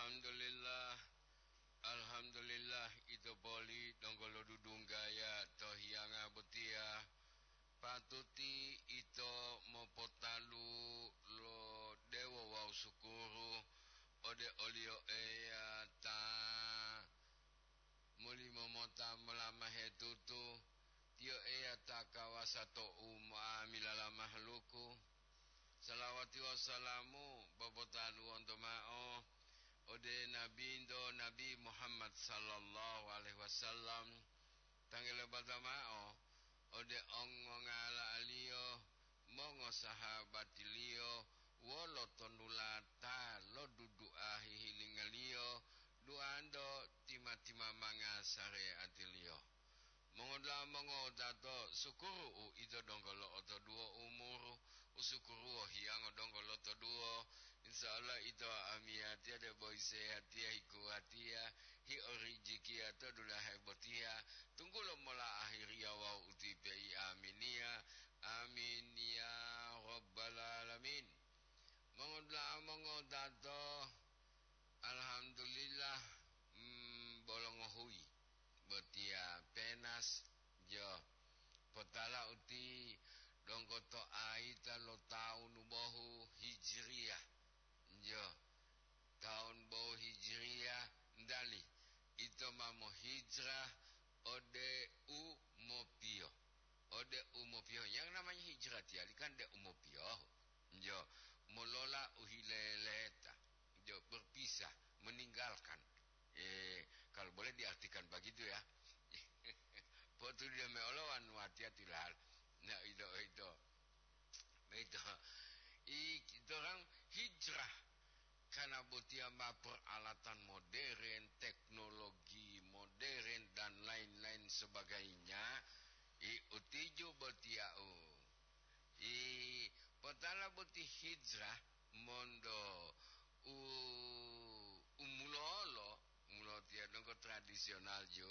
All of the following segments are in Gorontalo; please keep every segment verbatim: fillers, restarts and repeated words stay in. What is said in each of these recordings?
Alhamdulillah, alhamdulillah, ito poli donggo lodudunggaya to hiyanga botiya. Patuti ito mopotalu lo dewo wawu sukuru ode o-Liyo Eya ta molimo mota molamahe tutu, Tiyo Eya ta kawasa to unga'amila lo mahaluku. Salawati wawu salamu popotaluwonto mao ode Nabinto, Nabi Muhammad sallallahu alaihi wasallam, tanggulo bata mao ode ongongala'aliyo, mongosahabatiliyo, wolo tonulata lo dudu'a hihilingaliyo, duanto tima-timamanga sareatiliyo. Mongodula'a mongowutato, sukuru u ito donggo lo'otoduwo umuru, u sukuruwo hiyango donggo lotoduwo. Insya Allah ito amiyatiya debo isehatiya, hikuwatiya, hiorijikiya to dulahe botiya, tunggulo mola ahiriya wawu utipe i aminiya. Amin ya rabbal alamin. Mongodula'a mongowutato, alhamdulillah, mm, bolongohuyi botiya penas, jo, potala uti donggo to ayita lo tawunu bohu Hijriyah, jo, tawunu bohu Hijriyah, ndali ito ma mohijrah ode u mopiyohu. Ode u mopiyohu. Yang namanya hijrah tiyali kan de u mopiyohu. Jo, molola u hileleta. Jo, berpisah, meninggalkan. Eh, kalau boleh diartikan begitu ya. Potu dia meolowan watiya tilal. Nah, itu, itu. Itu. I, orang hijrah karena botiya ma peralatan modern, teknologi modern, dan lain-lain sebagainya. I, utiju botiya u. I, potala boti hijrah monto u, umulolo, mulo tiya donggo tradisional jo,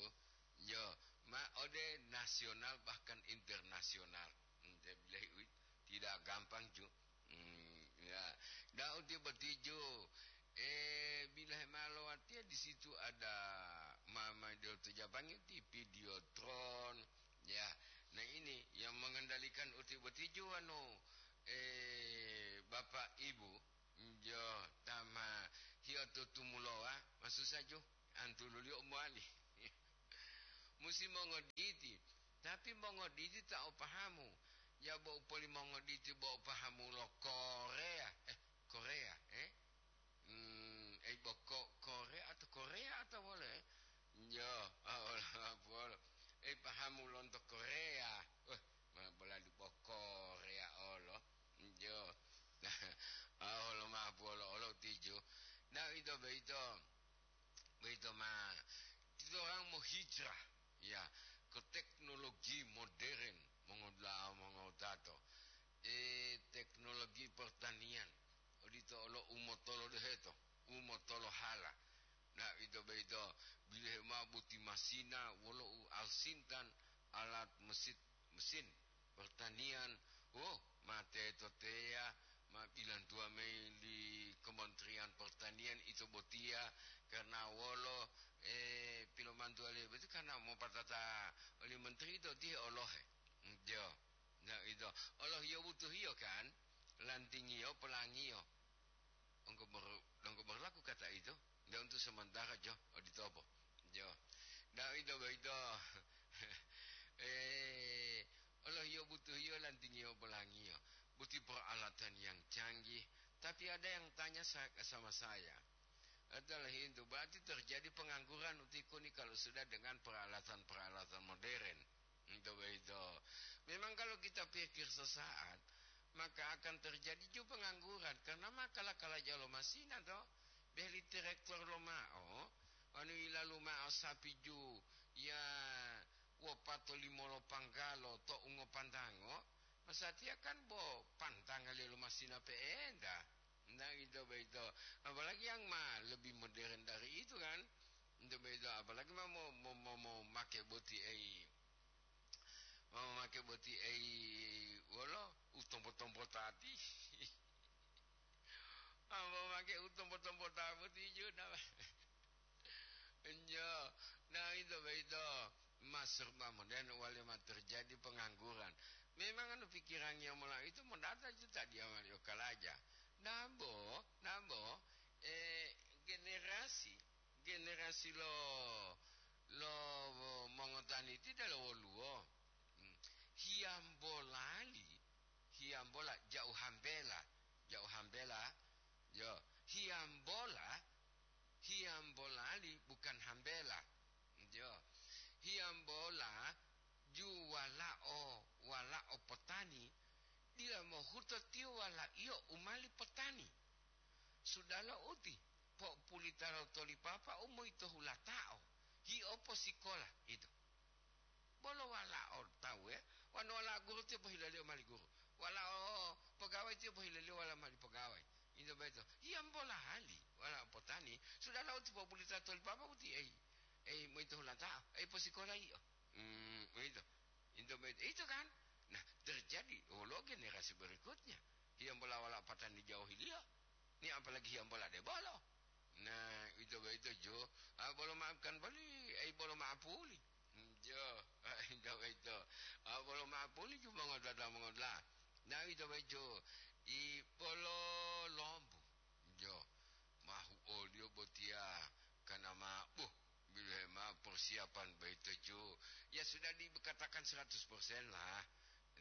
jo, ma ode nasional bahkan internasional. Hmm, dia bilang, "Wih, tidak gampang ju." Hmm, ya. Daud tiba tijo, eh, bila hemalowatia di situ ada mama dia to Japangi ti Videotron, ya. Nah, ini yang mengendalikan uti botijo anu, eh, Bapak Ibu, jo tama hioto tumulowa, masusa jo, antululiyo mowali. Musi mongoditi, tapi mongoditi ta o pahamu. Ya bo upoli mongoditi bo o pahamu lo Korea, eh, Korea, eh? Hmm, ei bo ko-, Korea atau Korea atau wolo, eh? Jo, ah, wolo, wolo. Ei pahamu lonto Korea. Wah, ma bolali bo Korea olo. Jo. Ah, olo ma bo olo, olo tijo. Nah, ito beito. Boyito ma, titorang mohijrah, ya, ke teknologi modern, mongodula'a mongowutato. E, teknologi pertanian, odito olo umotolo deheto, umotolo hala. Nah, ito boyito, bilohe mao boti masina wolo u alsintan alat mesit-, mesin pertanian, oh, ma teto teya, ma bilantuwa mayi li Kementerian Pertanian ito botiya, karna wolo, eh, pilomantuwaliyo boti karna mopatata oli menteri ito tihe olohe. Jo, na ito, olohiyo butuhiyo kan, lantingiyo, pelangiyo. Donggo ber-, donggo berlaku kata itu, ndak untuk sementara, jo, oditopo. Jo. Ndak ito boyito. Eh, olohiyo butuhiyo lantingiyo pelangiyo. Buti peralatan yang canggih. Tapi ada yang tanya sa-, sama saya. Adalah itu, berarti terjadi pengangguran utikuni kalau sudah dengan peralatan-peralatan modern. Ito boyito. Memang kalau kita pikir sesaat, maka akan terjadi ju pengangguran, karena ma kala-kala jalo masina to, beli traktor lomao, anu yilalu mao sapi ju, ya, wopato limolo panggalo to ungopantango, masatiya kan bo pantanga lelo masina pe'enta. Nah, ito boyito. Apalagi yang ma lebih modern dari itu kan. Ito boyito, apalagi ma mo, mo, mo, mo make boti ei. Mamake boti ei wolo u tompo-tompo tati. Ambo make ke u tompo-tompo ta boti ju na. Enjo, na ito boyito ma serba modern wale ma terjadi pengangguran. Memang anu pikirannya mola itu modata ju ta dia mali o kalaja. Nabo, nabo, eh, generasi, generasi lo, lo mongotani ti delo woluwo. Hmm. Hiyambolali, hiyambola jauh hambela, jauh hambela, yo, hiyambola, hiyambolali bukan hambela, yo, hiyambola ju walao, walao potani, dila mohuto tiyo walaiyo u mali potani. Sudalo uti, po'opulitalo toli papa u moyito hulatao, hi'o posikola, ito. Bolo walao tawu, e, wonu walao guru tiyo pohilaliyo mali guru, walao pogawai tiyo pohilaliyo wala mali pogawai. Into boyito, hiyambola hali walao potani, sudalo uti po'opulitalo toli papa uti, ei, ei, moyito hulatao, ei, posikola yi'o. Hmm, uwito. Into boyito, ito kan? Nah, terjadi wolo generasi berikutnya. Hiyambola wala patani jauhiliyo. Ni apalagi hiyambola debolo. Nah, ito boyito jo. Ah, bolo maafkan boli, ai bolo maapuli. Hmm, jo, ah, ito boyito. Ah, bolo maapuli ju mongodula, mongodula. Nah, ito boyito. I bolo lombu. Jo, mahu oliyo botiya kana ma, buh, bilohe ma persiapan boyito ju. Ya sudah dikatakan seratus persen lah.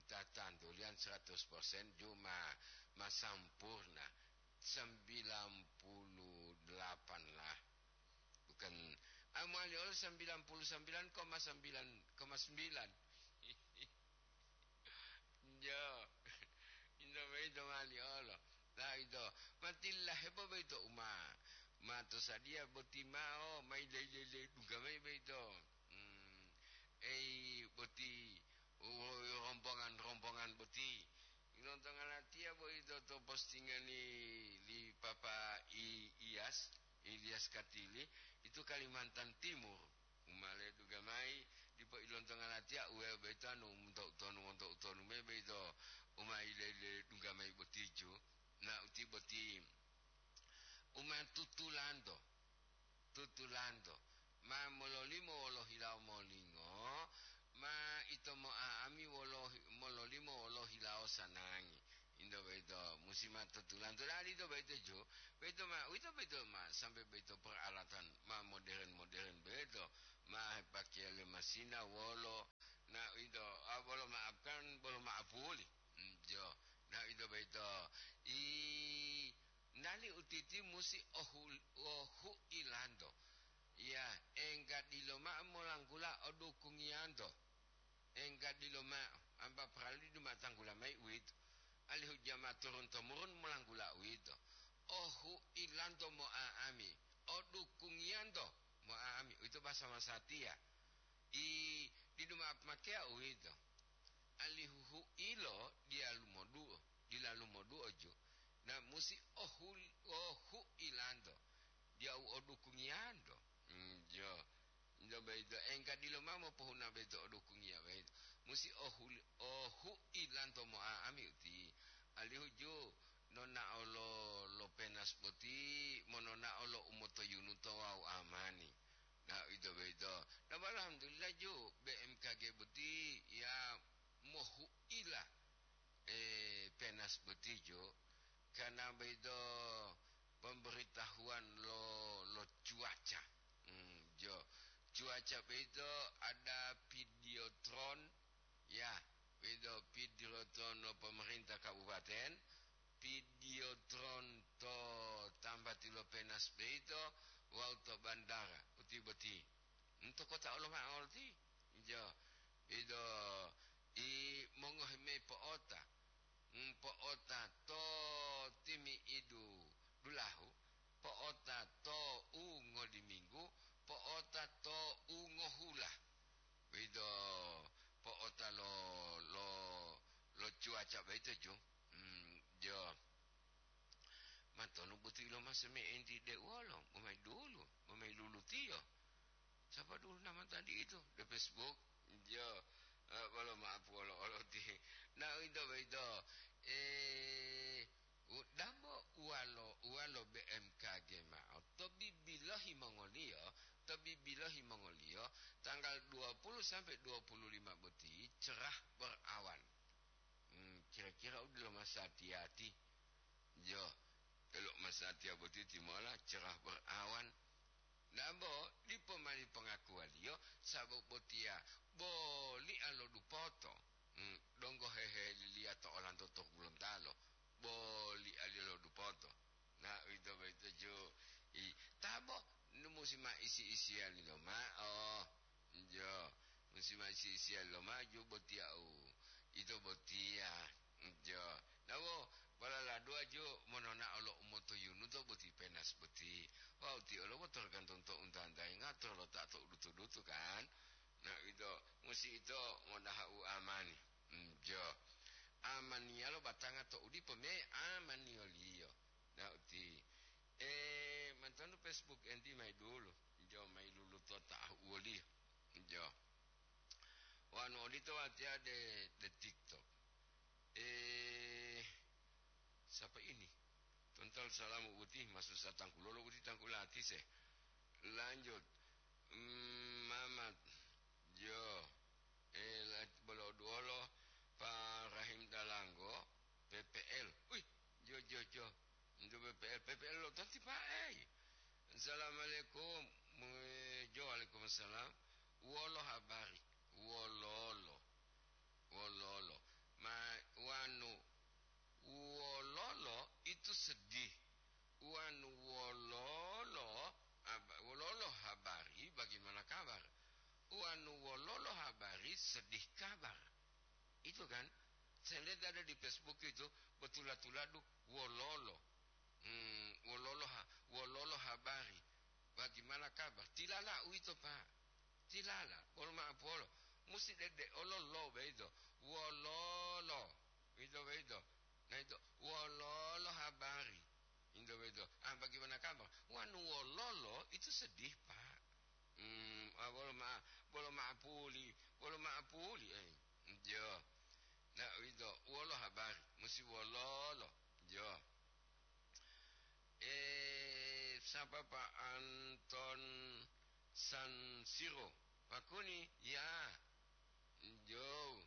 Tatantulian seratus persen ju ma, ma sampurna. Sembilan puluh delapan lah. Bukan, ah, mowali olo sembilan puluh sembilan koma sembilan koma sembilan. Jo. Into boyito mali olo. La ito. Matillahe po boyito uma. Ma to sadiya boti mao, mai lele-lele dungga mayi boyito. Hmm. Ei boti, wo-, rombongan-rombongan boti. Ilontonga latiya boyito to postingan li, li Papa I-, Iyas, Ilyas Katili, itu Kalimantan Timur. U ma ledungga mayi, dipo ilontonga latiya, uwe boyito anu monto utonu, monto utonu mayi boyito, u ma ile-, iledungga mayi boti ju. Na uti boti, u ma tutulanto, tutulanto, ma mololimo wolo hilawo molingo, ma ito mo'a'ami wolo hi-, mololimo wolo hilawo sanangi. Into boyito, musi ma tutulanto. Dali ito boyito ju, boyito ma, uwito boyito ma, sampai boyito peralatan ma modern-modern boyito, ma hepakeya le masina wolo, na uwito, ah, bolo maafkan, bolo maapuli. Hmm, jo, na uwito boyito. I, nali utiti musi ohu-, ohu'ilanto. Ya, engga dilo ma'o molanggula odukungiyanto. Engga dilo ma'o, ampa parali duma tanggula mayi uwito, alihu jama turun-tomurun molanggula uwito. Ohu'ilanto mo'a'ami, odukungiyanto mo'a'ami, uwito basa masatiya. I, didu ma'o pomakeya uwito, alihu hu'ilo diyalu moduo, dilalu moduo ju, na musi ohul-, ohu'ilanto, diya u odukungiyanto. Hmm, jo. Nto boyito, engga dilo mao mopohuna boyito odukungiya boyito. Musi ohuli-, ohu'ilanto mo'a'ami uti, alihu ju nonao lo, lo penas boti, mononao lo umotoyunuto wawu amani. Na, uwito boyito. Na, alhamdulillah ju, B M K G boti ya mohu'ila, eh, penas boti ju, karena boyito pemberitahuan lo, lo cuaca. Hmm, jo. Cuaca boyito ada videotron, ya, boyito videotron lo pemerintah kabupaten, videotron to tambati lo penas boyito, wawu to bandara, uti boti. Nto kota Oloma'o ti, jo, ido, i mongohi mayi po'ota, mm, po'ota to timi'idu dulahu, po'ota to u ngoliminggu, po'ota to u ngohula. Ido po'ota lo, lo, lo cuaca boyito ju. Mm, jo. Matonu butu ilomase me enti de uwolo, bo mayi dulu, bo mayi lulutiyo. Sapa dulu nama tadi itu? De Facebook. Jo, eh, bolo maaf wolo olo ti. Na, uwito boyito, eh, u-, dambo uwalo, uwalo B M tanggal dua puluh sampai dua puluh lima boti cerah berawan. Hmm, kira-kira u delo masatiya-tiya. Jo, elo masatiya boti timola cerah berawan. Dambo dipo mani pongakuwaliyo, sabab botiya boli alo dupoto. Hmm, donggo heheliliya to olanto to Gorontalo, boli ali alo dupoto. Na, uwito boyito ju, i, tabo, nu musi ma isi-isiyali loma'o. Jo, musi ma isi-isiyali loma'o ju botiya u, ito botiya. Jo, nabo, balala dua ju monona'o lo umotoyunuto boti penas boti. Wawu tiyo lo boto tergantung to unta-untayi ngatur lo ta to udutu-dutu kan. Na, ito, musi ito modaha u amani. Jo, amaniyalo batanga to udipo me amaniyoliyo. Na uti, eh, mantonu Facebook enti mayi dulu. Jo, mayi luluto ta woliyo. Jo. Wanu odito watiya de, de TikTok. Eh, siapa ini? Tontal salamu uti masu satangkulolo uti tangkulati se. Lanjut. Mm, Mamat. Jo. Eh, la-, bolo duolo Pa Rahim Dalanggo, P P L. Wih, jo, jo, jo. Ntu P P L, P P L lo tanti pae. Assalamualaikum. Mu-, jo, waalaikumsalam. Wolo habari? Wololo. Wololo. Ma-, wanu, wololo itu sedih. Wanu wololo, ab-, wololo habari, bagaimana kabar? Wanu wololo habari, sedih kabar. Itu kan, saya lihat ada di Facebook itu, betula-tuladu wololo. Hmm, wololo ha-, wololo habari. Bagaimana kabar? Tilala uwito, Pak. Tilala, bolo ma'apolo. Musi dede ololo beito. Wololo. Ito beito. Nah, itu wololo habari. Ito beito. Ah, bagaimana kabar? Wanu wololo itu sedih, Pak. Hmm, ah, bolo ma-, bolo ma'apuli, bolo ma'apuli, eh. Jo. Nah, ito wolo habari, musi wololo. Jo. Eh, sapa Pak Anton San Siro? Pakuni, ya. Jo.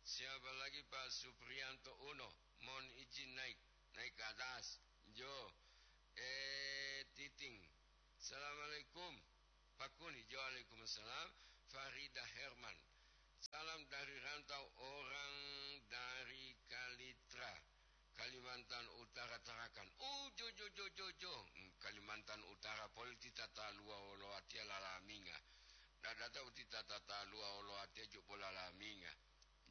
Siapa lagi Pak Suprianto Uno? Mohon izin naik, naik ke atas. Jo. Eh, Titing. Assalamualaikum. Pakuni, jo, waalaikumsalam. Farida Herman. Salam dari rantau, orang dari Kalitra, Kalimantan Utara, Tarakan. Oh, jo, jo, jo, jo, jo. Hmm, Kalimantan Utara poli ti tataluwa wolo watiya lalaminga. Dadata uti tataluwa wolo watiya jo polalaminga.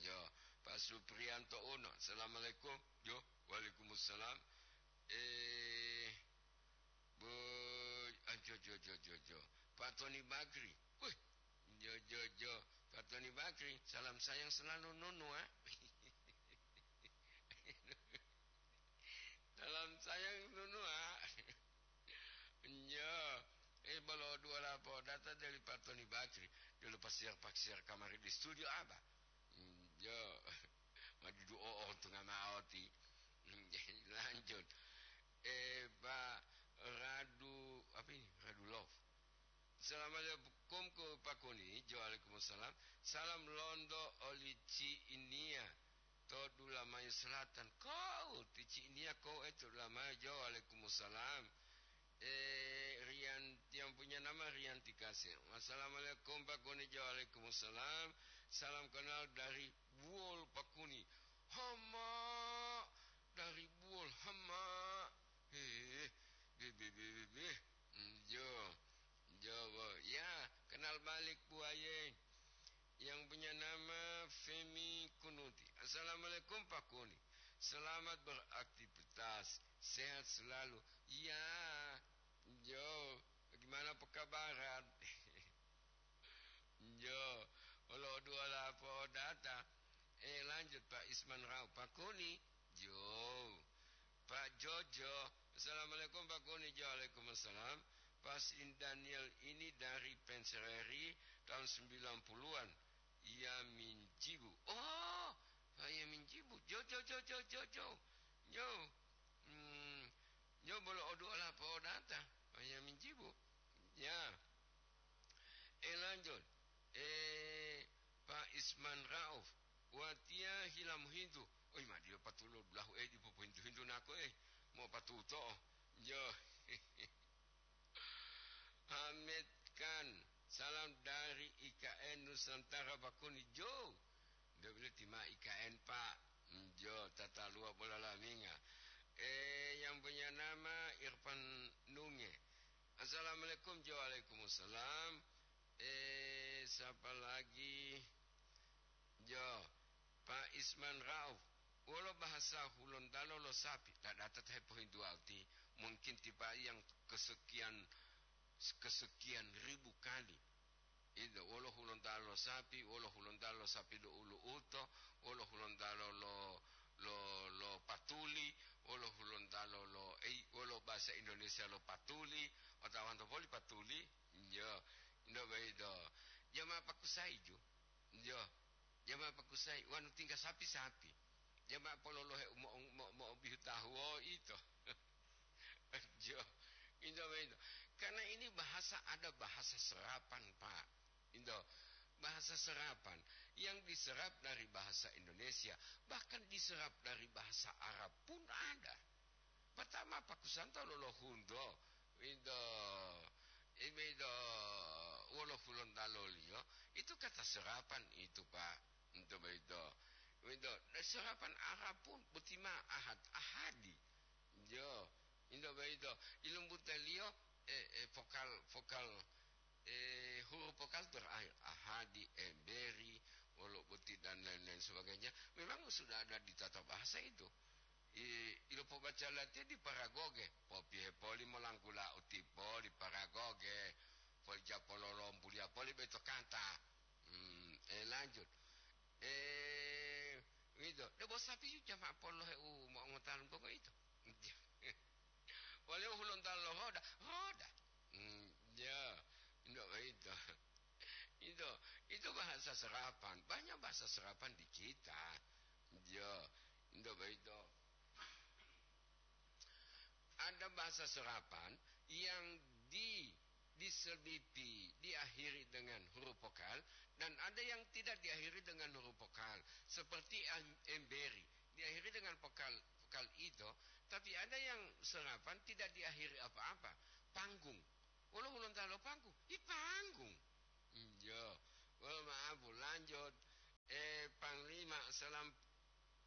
Jo, Pak Suprianto Uno. Assalamualaikum. Jo, waalaikumsalam. Eh, Bu, ah, jo, jo, jo, jo, jo. Pak Tony Bakri. Wih, jo, jo, jo. Pak Tony Bakri, salam sayang selalu nunu, ah. Salam sayang nunu, ah. Jo. Eh, bolo dua lapo data dari Pak Tony Bakri. Dulu pasir-pasir kamari di studio apa? Jo. Madidu o'o tunga ma'o ti. Lanjut. Eh, Pak Radu, apa ini? Radu Love. Assalamualaikum ko Pakuni. Jo, waalaikumsalam. Salam londo oli Ci Inia to Dulamayo Selatan. Kau ti Ci Inia kau, eh, to Dulamayo. Jo, waalaikumsalam. Eh, Rian, yang punya nama Rianti Kasir. Assalamualaikum, Pakuni. Jo, waalaikumsalam. Salam kenal dari Buol, Pakuni. Hama, dari Buol, Hama. Eh, be, be, be, be, be. Hmm, jo, jo, bo. Ya, kenal balik, Bu Aye. Yang punya nama Femi Kunuti. Assalamualaikum, Pakuni. Selamat beraktivitas. Sehat selalu. Ya, jo, bagaimana pekabaran? Jo, olo dua lapo data. Eh, lanjut, Pak Isman Rau. Pakuni, jo. Pak Jojo. Assalamualaikum, Pakuni. Jo, waalaikumsalam. Pak Sin Daniel ini dari Pensereri tahun sembilan puluhan. Iya Minjibu. Oh, Pak Iya Minjibu. Jo, jo, jo, jo, jo, jo. Jo. Hmm, jo bolo odu ola po data. Pak Iya Minjibu. Ya. Eh, lanjut. Tiya hila mohintu, "Oi, ma dila patulo dulahu, eh, dipo pohintu-hintu nako, eh, mo patuto'o." Jo. Hamed Khan, salam dari I K N Nusantara Bakuni, jo. Nde bile tima I K N, Pak. Jo, tataluwa bola laminga. Eh, yang punya nama Irfan Nunge. Assalamualaikum, jo, waalaikumsalam. Eh, siapa lagi? Jo, Pak Isman Rauf, wolo bahasa Hulontalo lo sapi, ta data ta hepohintuwa uti, mungkin tipa yang kesekian, kesekian ribu kali. Itu, wolo Hulontalo lo sapi, wolo Hulontalo lo sapi lo ulu'uto, wolo Hulontalo lo, lo, lo patuli, wolo Hulontalo lo, ei, wolo bahasa Indonesia lo patuli, otawanto poli patuli, jo, ndo baido. Jama pakusai ju, jo. Jama pakusai, wanu tingga sapi-sapi. Jama pololohe mo-, mo-, mo'obihu tahuwo ito. Jo, ito, ito. Karena ini bahasa, ada bahasa serapan, Pak. Ito, bahasa serapan yang diserap dari bahasa Indonesia, bahkan diserap dari bahasa Arab pun ada. Pertama, pakusanto lolohundo, ito, ito, wolo Hulontalo liyo, itu kata serapan itu, Pak. Ito boyito. Boyito, serapan Arab pun boti ma ahad, ahadi. Jo, ito boyito. Ilumbutaliyo, eh, eh, vokal, vokal, eh, huruf vokal terakhir. Ahadi, emberi, wolo boti, dan lain-lain sebagainya. Memang sudah ada di tata bahasa itu. I, ilopobaca latiya di paragoge, popihe poli molanggula utipoli paragoge, poli japololombuliya poli beto kanta. Hmm, eh, lanjut. Eh, wito, debo sapi yu jama polohe u mo'ongotalu bongo ito. Wale u Hulontalo lo hoda, hoda. Hmm, ya, ndo ito. Itu, itu bahasa serapan. Banyak bahasa serapan di kita. Ya, ndo ito. Ada bahasa serapan yang di, diselipi, diakhiri dengan huruf vokal, dan ada yang tidak diakhiri dengan huruf vokal, seperti em-, emberi, diakhiri dengan vokal, vokal ito, tapi ada yang serapan tidak diakhiri apa-apa. Panggung. Wolo Hulontalo panggung? I panggung. Iya. Wolo maaf, lanjut. Eh, Panglima, salam,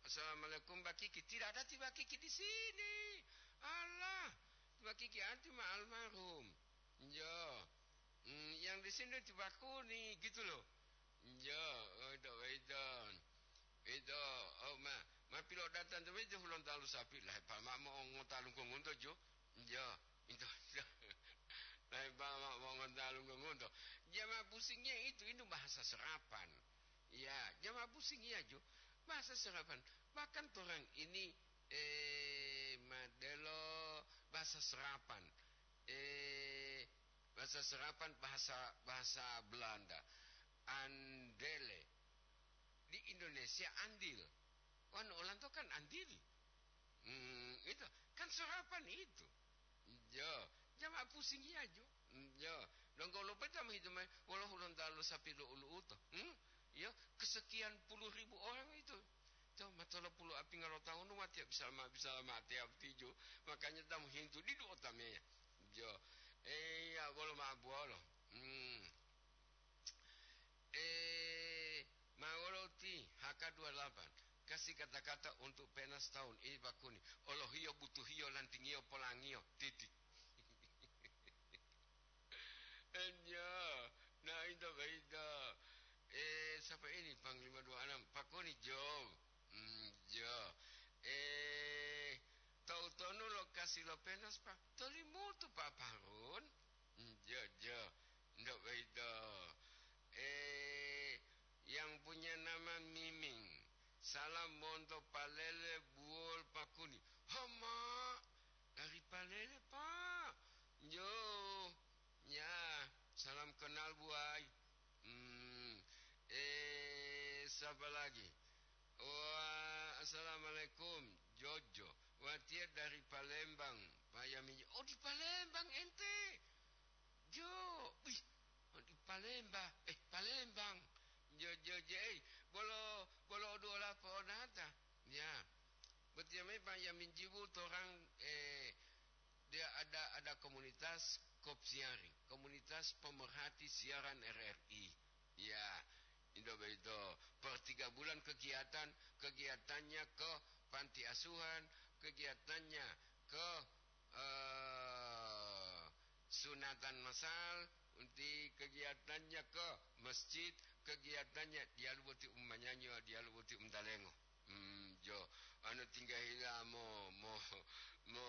assalamualaikum, Bakiki. Tidak ada ti Bakiki di sini. Allah, ti Bakiki anti ma almarhum. Iya. Hmm, yang di sini ti Bakuni, gitu loh. Iya, oh, itu, itu. Itu, oh, ma, ma pilo datang tu itu Hulontalo sapi lah, pa ma mo ngotalu ngunto jo. Iya, itu. Lah, pa ma mo ngotalu ngunto. Jama pusingnya itu, itu bahasa serapan. Ya, jama pusing iya jo. Bahasa serapan. Bahkan orang ini, eh, modelo bahasa serapan. Eh, bahasa serapan, bahasa, bahasa Belanda. Andele. Di Indonesia andil. Wanu olanto kan andil. Hmm, itu kan serapan itu. Jo, jama pusing iya jo. Jo, donggo lopeta ma hitu mai, wolo Hulontalo sapi lo ulu uto. Hmm? Yo, kesekian puluh ribu orang itu. To, ma tolo puluh apinga lo tahun, ma tiap bisa ma, bisa ma tiap tijo. Makanya tamu hintu di dua tameya. Jo. Eh, ya, bolo ma buolo. Hmm. Eh, ma wolo ti H K dua delapan. Kasih kata-kata untuk penas tahun ini, Pak Kuni. Olohiyo butuhiyo lantingiyo polangiyo. Titik. Enyo, nah, itu, itu. Eh, siapa ini Panglima dua enam? Pak Kuni, jo. Hmm, jo. Eh, tahu tonu lokasi lo penas, Pak? Tolimutu, Pak Harun. Hmm, jo, jo. Ndak begitu. Eh, yang punya nama Miming. Salam monto Palele Buol Pakuni. Hama, dari Palele, Pak. Jo. Ya, salam kenal, buai. Hmm, eh, siapa lagi? Wah, assalamualaikum, Jojo. Watiya dari Palembang, Pak Yami. Oh, di Palembang ente? Jo, wih, oh, di Palembang. Eh, Palembang. Jo, jo, jo, eh, bolo, bolo dua Dia memang yang menjibu orang, eh, dia ada, ada komunitas Kopsiari, komunitas pemerhati siaran R R I. Ya, indo begitu. Per tiga bulan kegiatan, kegiatannya ke panti asuhan, kegiatannya ke, eh, sunatan masal, unti kegiatannya ke masjid, kegiatannya dialu boti umanyanyo, dialu boti umtalengo. Hmm, jo, anu tingga hila mo, mo, mo,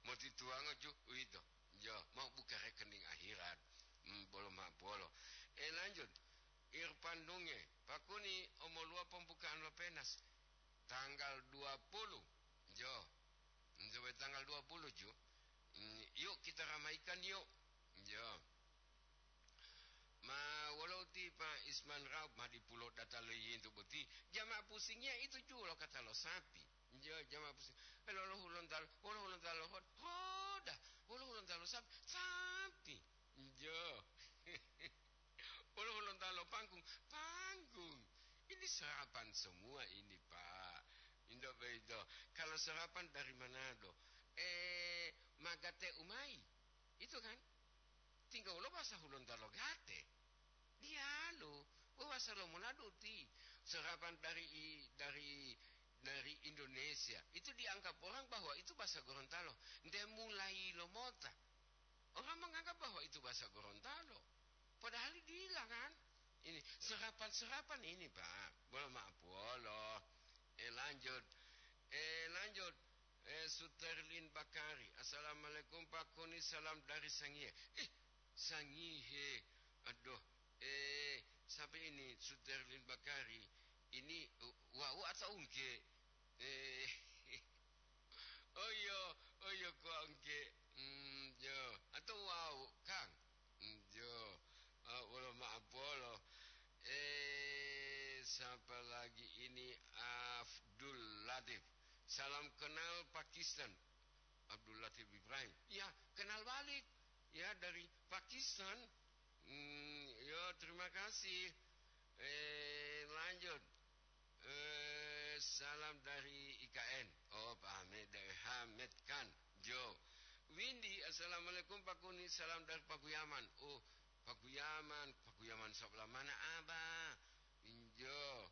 mo tituwango ju, uwito. Jo, mau buka rekening akhirat. Hmm, bolo ma bolo. Eh, lanjut. Irfan Dunge, pakuni omoluwa pembukaan lo penas. Tanggal dua puluh. Jo. Sampai tanggal dua puluh ju. Hmm, yuk kita ramaikan yuk. Jo. Ma wolo uti Pak Isman Raub ma dipulo data lo yintu boti. Jama pusingiya itu ju lo kata lo sapi. Jo, jama pusing. Eh, lolo hulontalo, wolo hulontalo hod-, hoda. Wolo hulontalo sapi, sapi. Jo. Wolo hulontalo panggung, panggung. Ini serapan semua ini, Pak. Indo begitu. Kalau serapan dari Manado, eh, magate umai. Itu kan? Tinggal wolo bahasa hulontalo gate. Diyalu, wewasa lo Manado ti. Serapan dari i-, dari, dari Indonesia. Itu dianggap orang bahwa itu bahasa Gorontalo. Nde mulai lo mota. Orang menganggap bahwa itu bahasa Gorontalo. Padahal dila kan? Ini serapan-serapan ini, Pak. Bolo maaf, bolo. Eh, lanjut. Eh, lanjut. Eh, Suterlin Bakari. "Assalamualaikum, Pak Kuni. Salam dari Sangihe." Eh, Sangihe. Aduh. Eh, siapa ini Suterlin Bakari? Ini, uh, wau atau ungke? Eh, oh iya, oh iya, kok ungke. Hmm, yo. Atau wau, Kang? Hmm, yo. Ah, wolo maaf, wolo. Eh, siapa lagi ini? Abdul Latif. "Salam kenal Pakistan." Abdul Latif Ibrahim. Ya, kenal balik. Ya, dari Pakistan. Hmm, yo, terima kasih. Eh, lanjut. Eh, salam dari I K N. Oh, Pak Ahmed, dari Hamed Khan. Jo. Windy, "Assalamualaikum, Pak Kuni. Salam dari Pakuyaman." Oh, Pakuyaman. Pakuyaman sebelah mana, Abah? Injo.